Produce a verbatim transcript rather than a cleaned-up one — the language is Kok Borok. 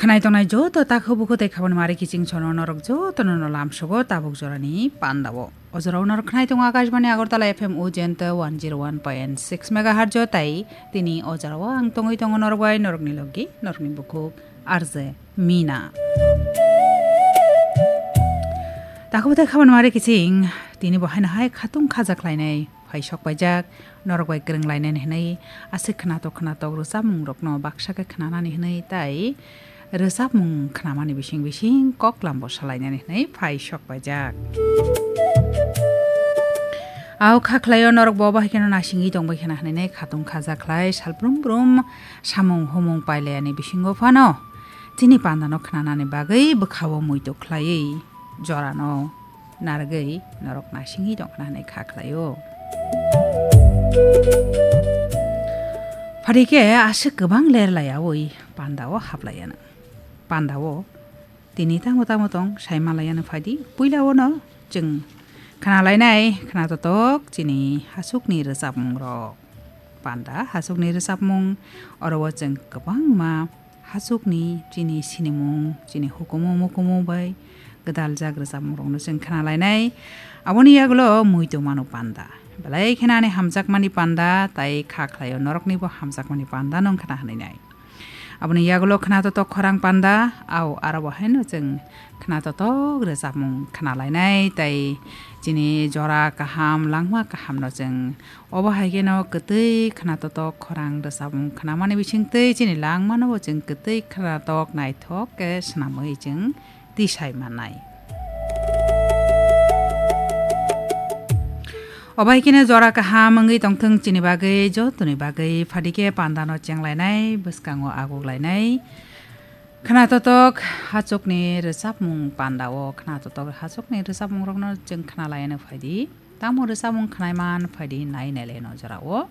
Khnai tongnai joto takhu bukhu tei khabani mari kiching sono norok jotono no lamsogo tabuk jorani pandao. O jorao norok khnai tongo Akashbani Agartala F M Ujenta one zero one point six megahertz o tai tini o jorao ang tongwi tongo norok bai norokni logi norokni bukhuk R J Mina. Takhu tei khabani mari kiching tini bo haino hai khatung khaja khlainai phai sok paijak norok bai kwrwng lainani hwnwi aswk khnatok khnatok rwchapmung rokno baksa khe khnanani hwnwi tai rwchapmung khnamani bising bising koklam bo salainani hwnwi phai sok paijak. Au kha khlaio norok bo bahai kheno nasingwi tongbai khena hwnwi khatung khaja khlai salbrum brum samung humung pailayani bisingo phano chini pandano khnanani bagwi bwkhao muitu khlaiwi jorano narwgwi norok nasingwi tongkhna hwnwi kha khlaio. Phari khe aswk kwbang ler laiyawi pandao haplaiyano. Pandao tini tamo tamo tong sai malaiyano phaidi puilao no chwng khna lainai khna totok chini hasukni rwchapmung rok. Panda hasukni rwchapmung oro o chwng kwbangma hasukni chini sinimung, chini hukumu mukumu bai gwdaljak rwchapmungrokno chwng khna lainai. Aboni yagulo muitu mano panda. Belai kheno ani hamjakmani panda, tai kha khlaio noroknibo hamjakmani panda no wngkha na hwnwi nai. Aboni yagulo khna totok khorang panda, au aro bo haino chwng khna totok rwchapmung khna lainai, tai chini jora kaham, langma kahamno chwng obo hai kheno kwtwi khna totok khorang rwchapmung khnamani bisingtwi chini langmano bo chwng kwtwi khna tok naithok khe swnamwi chwng tisai mannai. Obo hai kheno jora kaham wngwi tongthwng chini bagwi, jotoni bagwi, phadi khe pandano chenglainai, bwskango aguklainai. Khna totok hachukni rwchapmung pandao, khna totok hachukni rwchapmungrokno chwng khna laiano phaidi. Tamo rwchapmung khnai man phaidi nai nailai no jorao.